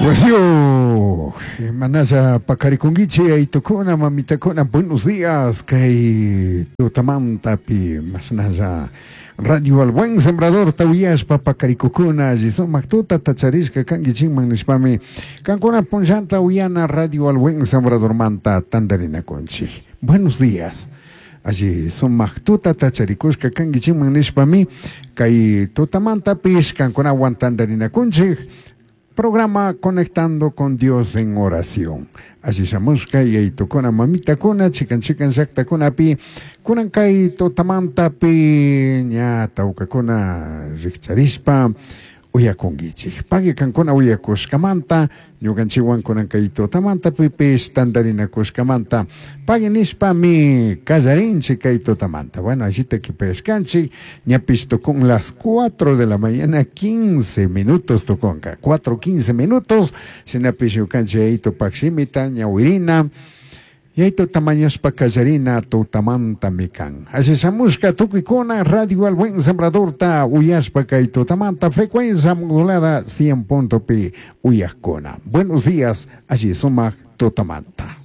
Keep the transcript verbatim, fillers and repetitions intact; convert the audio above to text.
Wasio, manalla paqarikunkichik yaytukuna mamitakuna, buenos días, kay tutamantapi mashnalla Radio al Buen Sembrador uyashpa paqarikukuna alli sumak tutata charishka kankichikman nishpami kankuna punllanta uyana Radio al Buen Sembradormanta tantarinakunchik. Buenos días. Alli sumak tutata charikushka kankichikman nishpami kay tutamantapish kankunawan tantarinakunchik programa Conectando con Dios en Oración. Alli shamushka yaytukuna mamitakuna chikan chikan llaktakunapi kunan kay tutamantapi ña tawkakuna rikcharishpa uyakunkichik. Pagui kankuna uyakushkamanta ñukanchikwan kunan kay tutamantapipish tantarinakushkamanta pagui nishpami kallarinchik kay tutamanta. Bueno, allita kipayashkanchik ñapish tukun las cuatro de la mañana quince minutos tukunka. cuatro quince minutos shinapish ñukanchik yayitupak shimita ñawirina Yaytu tamañashpa kallarina tutamantami kan. Alli shamushka tukuykuna Radio al Buen Sembradorta uyashpa kay tutamanta frecuencia modulada cien punto pi uyakuna. Buenos días, alli sumak tutamanta.